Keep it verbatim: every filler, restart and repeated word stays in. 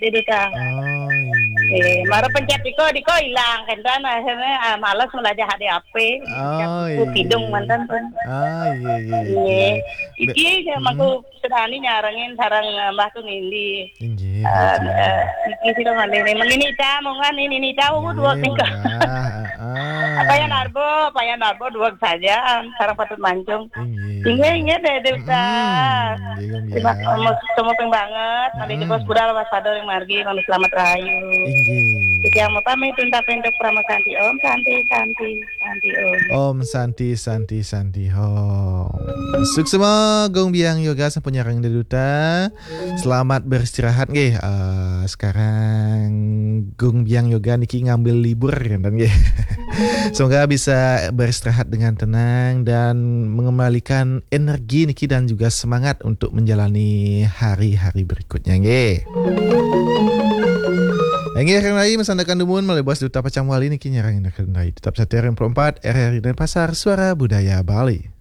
Di duta. Oh, iya. Eh, mara pencet iko, diko hilang kan, dan akhirnya ah, malas belajar H D A P. Oh, iya. Kidung mantan pun. Ah, iya, iya, iya. Iya. Iki ya aku sedani nyarengin sarang eh, Mbah Tungindi. Inggih. Eh, eh, iki sih mah ini mengini ta, monggo ini ini ta, umur dua tiga. Apa ya Narbo, apa ya Narbo dua saja, sarang patut mancung. Inggih. Inggih, inggih deh, deh, Ustaz. Terima kasih, semua banget. Mari kita sepeda lepas pada yang margi, kalau selamat rahayu. Inggih. Kita mau pamit untuk untuk Prama Santi. Om Santi, Santi, Santi, Om. Om Santi, Santi, Santi, Om. Suksma, Gung Biang Yoga, sampun nyarang di duta. Selamat beristirahat, nggih. Eh, sekarang Gung Biang Yoga niki ngambil libur, kan, nggih. Semoga bisa beristirahat dengan tenang dan mengembalikan energi niki dan juga semangat untuk menjalani hari-hari berikutnya, nggih. Nggih, kang Rai, masandakan dumun, malih bos duta pacang wali niki nyarang niki, kang Rai. Tetap setia R M empat R R I Denpasar, Suara Budaya Bali.